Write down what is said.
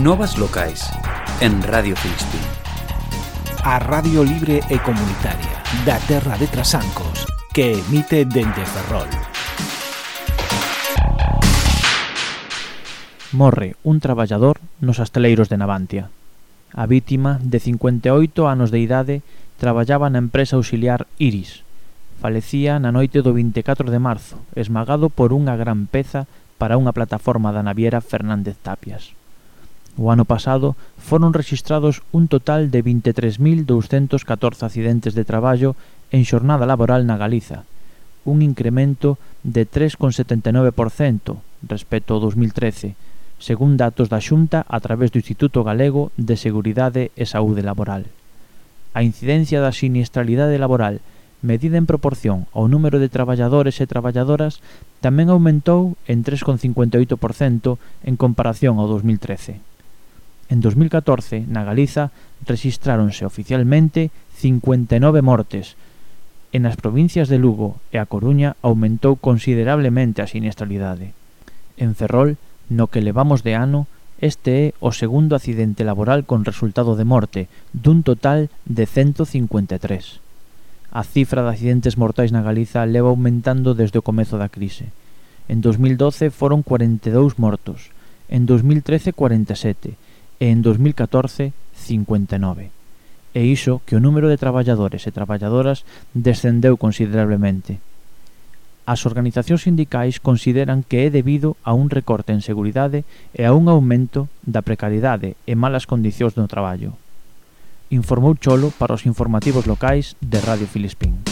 Novas locais en Radio Filispín. A radio libre e comunitaria da terra de Trasancos, que emite dende Ferrol. Morre un traballador nos asteleiros de Navantia. A vítima, de 58 anos de idade, traballaba na empresa auxiliar Iris. Falecía na noite do 24 de marzo, esmagado por unha gran peza para unha plataforma da naviera Fernández Tapias. O ano pasado foron rexistrados un total de 23.214 accidentes de traballo en xornada laboral na Galiza, un incremento de 3,79% respecto ao 2013, según datos da Xunta a través do Instituto Galego de Seguridade e Saúde Laboral. A incidencia da siniestralidade laboral, medida en proporción ao número de traballadores e traballadoras, tamén aumentou en 3,58% en comparación ao 2013. En 2014, na Galiza, rexistráronse oficialmente 59 mortes, e nas provincias de Lugo e A Coruña aumentou considerablemente a siniestralidade. En Ferrol, no que levamos de ano, este é o segundo accidente laboral con resultado de morte, dun total de 153. A cifra de accidentes mortais na Galiza leva aumentando desde o comezo da crise. En 2012 foron 42 mortos, en 2013 47 e en 2014 59. E iso que o número de traballadores e traballadoras descendeu considerablemente. As organizacións sindicais consideran que é debido a un recorte en seguridade e a un aumento da precariedade e malas condicións no traballo. Informou Cholo para os informativos locais de Radio Filispín.